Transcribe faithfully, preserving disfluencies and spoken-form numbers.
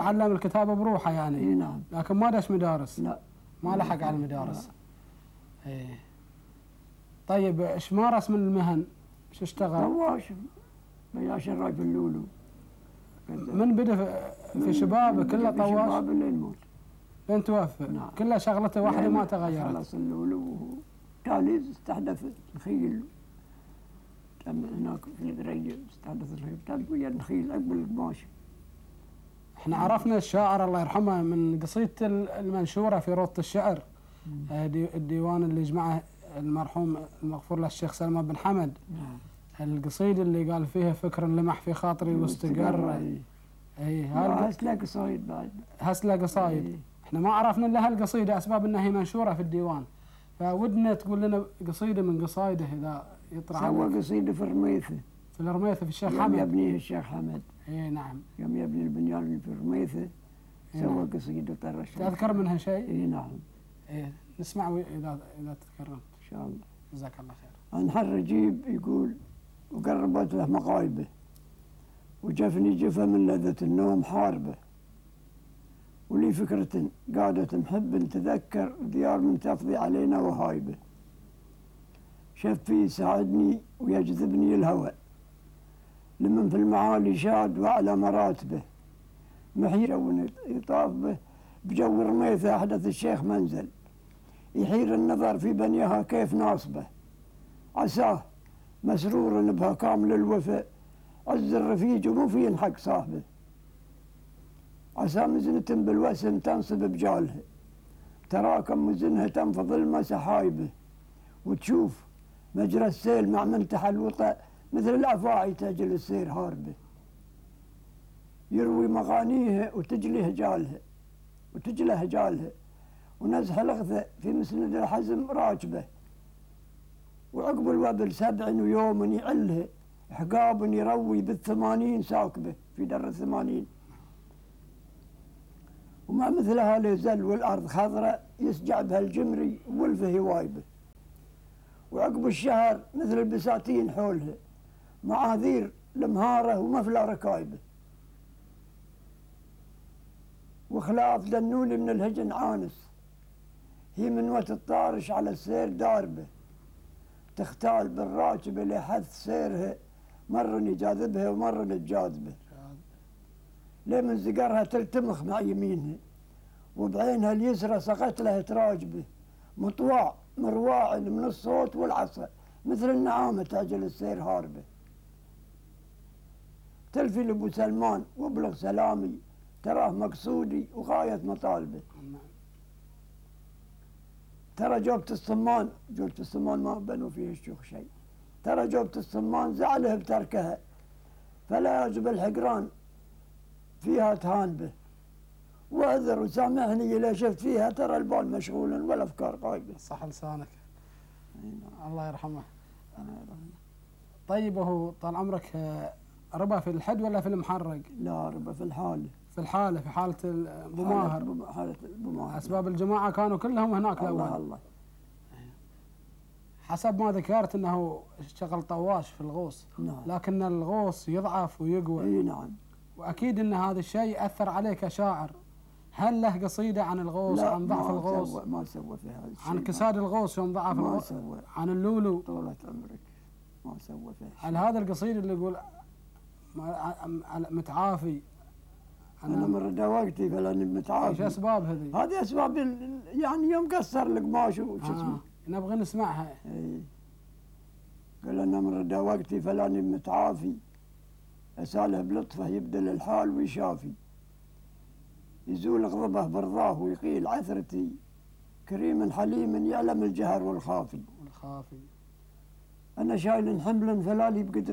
تعلم الكتابة بروحه يعني. اي نعم. لكن ما دش مدارس. لا ما لحق على المدارس. ايه. طيب ايش مارس من المهن؟ ايش اشتغل؟ طواش ويا شراي في اللولو. من بدا في شبابه كله طواش؟ شبابه لين موت. لين توفى؟ نعم. كلها شغلته واحدة ما تغيرت. خلص اللولو تالي استحدث الخيل. تم هناك في الدرية استحدث الخيل تالي ويا الخيل عقب القماش. احنا عرفنا الشاعر الله يرحمه من قصيدة المنشورة في روضة الشعر، الديوان اللي جمعه المرحوم المغفور له الشيخ سلمان بن حمد. نعم. القصيدة اللي قال فيها فكر لمح في خاطري واستقر. اي اي هسلا قصايد بعد. هسلا قصايد. ايه. احنا ما عرفنا الا هالقصيدة اسباب انها هي منشورة في الديوان، فودنا تقول لنا قصيدة من قصايده اذا يطرح. سوى قصيدة في الرميثة. في الرميثة في الشيخ حمد. يوم يبنيه الشيخ حمد. اي نعم. يوم يبني البنيان اللي في الرميثة سوى قصيدة طر الشيخ. تذكر منها شيء؟ اي نعم. ايه نسمع اذا اذا تذكرنا. ان شاء الله. جزاك الله خير. انحر رجيب يقول وقربت له مقايبه وجفني جفا من لذة النوم حاربه ولي فكرة قادة محب تذكر ديار من تفضي علينا وهايبه شفي يساعدني ويجذبني الهوى لمن في المعالي شاد وعلى مراتبه محير يطاف به بجو رميثة أحدث الشيخ منزل يحير النظر في بنيها كيف ناصبه عساه مسرور بها كامل الوفاء عز الرفيج ومو في ينحق صاحبه عسى مزنة بالوسم تنصب بجالها تراكم مزنها تنفض الماء سحايبه وتشوف مجرى السيل مع منتحى الوطأ مثل الأفاعي تجل السير هاربه يروي مغانيها وتجلي هجالها وتجلى هجالها ونزح الغثة في مسند الحزم راكبه وعقب الوبل سبع ويوم يعلها حقاب يروي بالثمانين ساكبه في در الثمانين وما مثلها ليزل والأرض خضراء يسجع بها الجمري والفه هوايبه وعقب الشهر مثل البساتين حولها معاذير المهارة ومفلى ركايبه وخلاف دنولي من الهجن عانس هي من وقت الطارش على السير داربه تختال بالراكبة لحث سيرها مرة يجاذبها ومرة تجاذبه ليه من زقرها تلتمخ مع يمينها وبعينها اليسرى سقت لها تراجبه مطواع مرواع من الصوت والعصا مثل النعامة تعجل السير هاربه تلفي لأبو سلمان وابلغ سلامي تراه مقصودي وغاية مطالبه ترى جوبة الصمان جوبة الصمان ما بنوا فيه الشيوخ شيء ترى جوبة الصمان زعله بتركها فلا يجب الحقران فيها تهان به واعذر وسامحني إذا شفت فيها ترى البال مشغولا والأفكار غايبة. صح لسانك. الله يرحمه. طيب هو طال عمرك ربا في الحد ولا في المحرق؟ لا ربا في الحالة. في الحالة في حالة أبو ماهر. حالة أبو ماهر. أسباب الجماعة كانوا كلهم هناك الأول. الله الله. حسب ما ذكرت أنه اشتغل طواش في الغوص. نعم. لكن الغوص يضعف ويقوى. اي نعم. وأكيد أن هذا الشيء أثر عليك كشاعر. هل له قصيدة عن الغوص عن ضعف الغوص؟ لا ما سوى في هذا الشيء. عن كساد الغوص يوم ضعف ما الغوص؟ سوى. عن اللولو؟ طولة عمرك ما سوى فيه. هل هذا القصيد اللي يقول متعافي أنا, أنا مرة وقتي فلاني متعافي. ايش أسباب هذه؟ هذه أسباب يعني يوم قصر القماش وش آه. اسمه. نبغى نسمعها. اي قال أنا مرة وقتي فلاني متعافي أساله بلطفه يبدل الحال ويشافي يزول غضبه برضاه ويقيل عثرتي كريم حليم يعلم الجهر والخافي والخافي. أنا شايل حملا فلالي بقدرتي